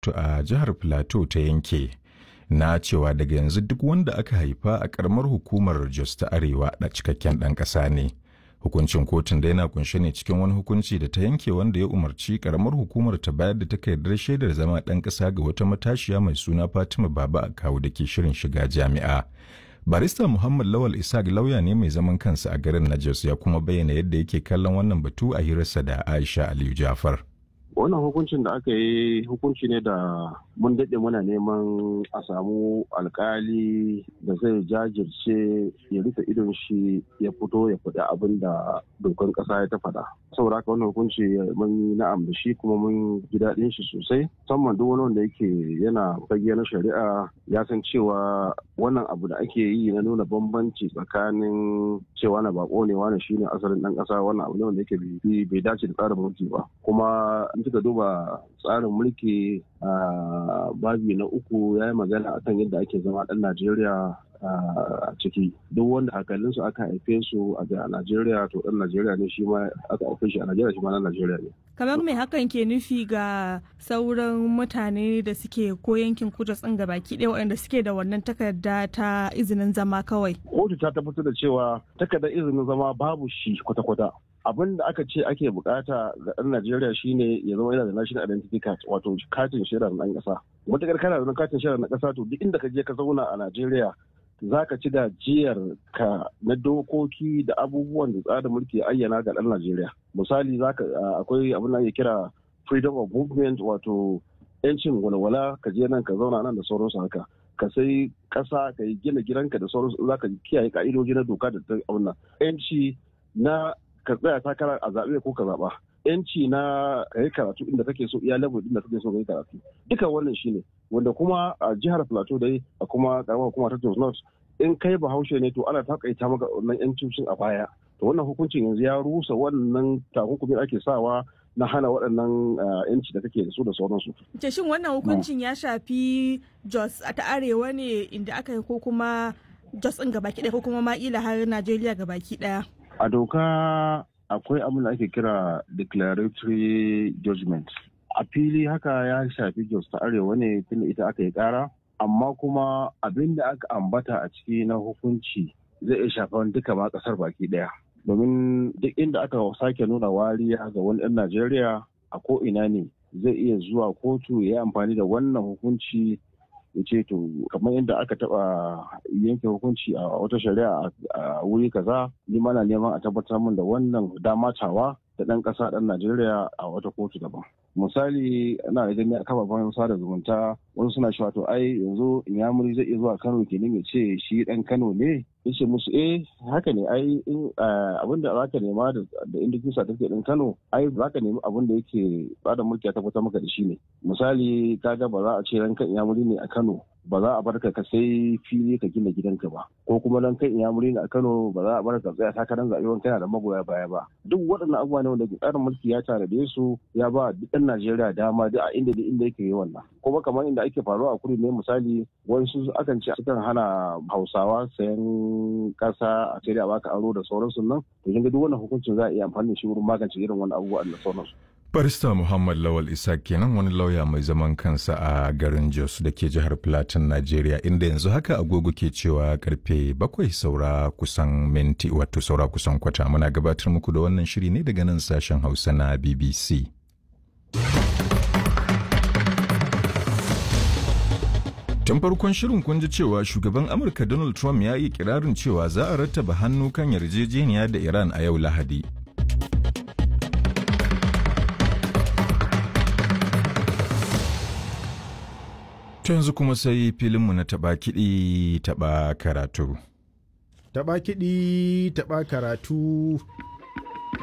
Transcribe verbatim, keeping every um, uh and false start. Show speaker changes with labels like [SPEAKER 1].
[SPEAKER 1] A jihar Plateau ta yanke na cewa daga yanzu duk wanda aka haifa a karamar hukumar Jos ta Arewa da cikakken ɗan ƙasa ne. Hukuncin kotun da yana kunshe ne cikin wani hukunci da ta yanke wanda ya umarci karamar hukumar ta bayar da takardar shaidar zama ɗan ƙasa ga wata matashiya mai suna Fatima Baba Akawu da ke shirin shiga jami'a. Barista Muhammad Lawal Isaac lauya ne mai zaman kansa a garin na Jos ya kuma bayyana yadda yake kallon wannan batu a hirarsa da Aisha Aliyu Jafar.
[SPEAKER 2] Wannan hukuncin da aka yi hukunci ne da mun daɗe muna neman a samu alkali da zai jajirce ya rufe idon shi ya fito ya faɗi abin da dokan ƙasa ya ta faɗa. Saboda haka wannan hukunci mun yi na'am da shi kuma mun ji daɗin shi sosai, musamman duk wani wanda yake yana fage na shari'a ya san cewa wannan abu da ake yi na nuna bambanci tsakanin cewa na bako ne, wani shine asalin ɗan ƙasa, wannan abu ne wanda yake bai dace da tsarin mulki ba. Kuma in kika duba tsarin mulki a babi na uku ya yi magana akan yadda ake zama ɗan Najeriya a ciki. Duk wanda hakalinsu aka haife su a Najeriya, to ɗan Najeriya ne, shi ma aka haife shi a Najeriya, shi ma ɗan Najeriya ne.
[SPEAKER 3] Kamar mai hakan ke nufi ga sauran mutane da suke ko yankin kudu tsin baki ɗaya waɗanda suke da wannan takarda ta izinin zama kawai?
[SPEAKER 2] Kotu ta tabbatar da cewa takardar izinin zama babu shi kwata-kwata. Abin da aka ce ake bukata ga ɗan Najeriya shine ya zama yana da national identity card, wato katin shaidar ɗan ƙasa. Matuƙar kana da katin shaidar na ƙasa, to duk inda ka je ka zauna a Najeriya za ka ci gajiyar ka na dokoki da abubuwan da tsarin mulki ya ayyana ga ɗan Najeriya. Misali, zaka akwai abin da ake kira freedom of movement, wato 'yancin walwala, ka je nan ka zauna nan da sauransu haka. Ka sai ƙasa, ka yi gina gidanka da sauransu, za ka kiyaye ka'idoji na doka da abin nan. 'Yanci na ka tsaya takara a zaɓe ko ka zaɓa, yanci na ka yi karatu inda kake so, iya level inda kake so ka yi karatu, duka wannan shine wanda kuma a jihar Plateau dai a kuma karamar hukuma ta Jos North, in kai Bahaushe ne, to ana takaita maka wannan yancin a baya. To wannan hukuncin yanzu ya rusa wannan takunkumin ake sawa na hana waɗannan yanci da kake da su da sauransu.
[SPEAKER 3] Ce shin wannan hukuncin ya shafi Jos ta Arewa ne inda aka yi, ko kuma Jos ɗin gabaki ɗaya, ko kuma ma ila har Najeriya gabaki ɗaya?
[SPEAKER 2] A doka akwai abin da ake kira declaratory judgment. A fili haka ya shafi Jos ta Arewa ne tunda ita aka yi kara, amma kuma abin da aka ambata a ciki na hukunci zai iya shafan duka ma kasar baki daya, domin duk inda aka sake nuna wariya ga wani ɗan Najeriya a ko ina ne, zai iya zuwa kotu ya yi amfani da wannan hukunci ya ce, to kamar yadda aka taba yanke hukunci a wata shari'a a wuri kaza, ni ma na neman a tabbatar min da wannan dama tawa da ɗan ƙasa ɗan Najeriya a wata kotu daban. Misali, ana da gani a kafafen sada zumunta wasu suna cewa, to ai yanzu Inyamuri zai iya zuwa Kano kenan ya ce shi ɗan Kano ne. Ya ce musu, eh, haka ne ai, abin da za ka nema da indigenous certificate ɗin Kano, ai za ka nemi abin da yake bada mulki ya tabbatar maka da shi ne. Misali, kaga ba za a ce rankan Inyamuri ne a Kano ba za a barka ka sai fili ka gina gidanka ba, ko kuma dan kai Inyamuri ne a Kano ba za a barka tsaya takarar zaɓe wani kana da magoya baya ba. Duk waɗannan abubuwa ne wanda tsarin mulki ya tanade su, ya ba duk ɗan Najeriya dama duk a inda duk inda yake yi wannan. Kuma kamar inda ake faruwa a kudu ne, misali, wasu akan ce sukan hana Hausawa sayan ƙasa, a sai a baka aro da sauransu nan. To kin ga duk wannan hukuncin za a iya amfani da shi wurin magance irin wannan abubuwa da sauransu.
[SPEAKER 1] Barista Muhammad Lawal Isa kenan, wani lauya mai zaman kansa a garin Jos da ke jihar Plateau, Najeriya, inda yanzu haka agogo ke cewa karfe bakwai saura kusan minti, wato saura kusan kwata. Muna gabatar muku da wannan shiri ne daga nan sashen Hausa na B B C. Tun farkon shirin kun ji cewa shugaban Amurka Donald Trump ya yi kirarin cewa za a rattaba hannu kan yarjejeniya da Iran a yau Lahadi. To yanzu kuma sai filinmu na taɓa kiɗi taɓa karatu.
[SPEAKER 4] Taɓa kiɗi taɓa karatu.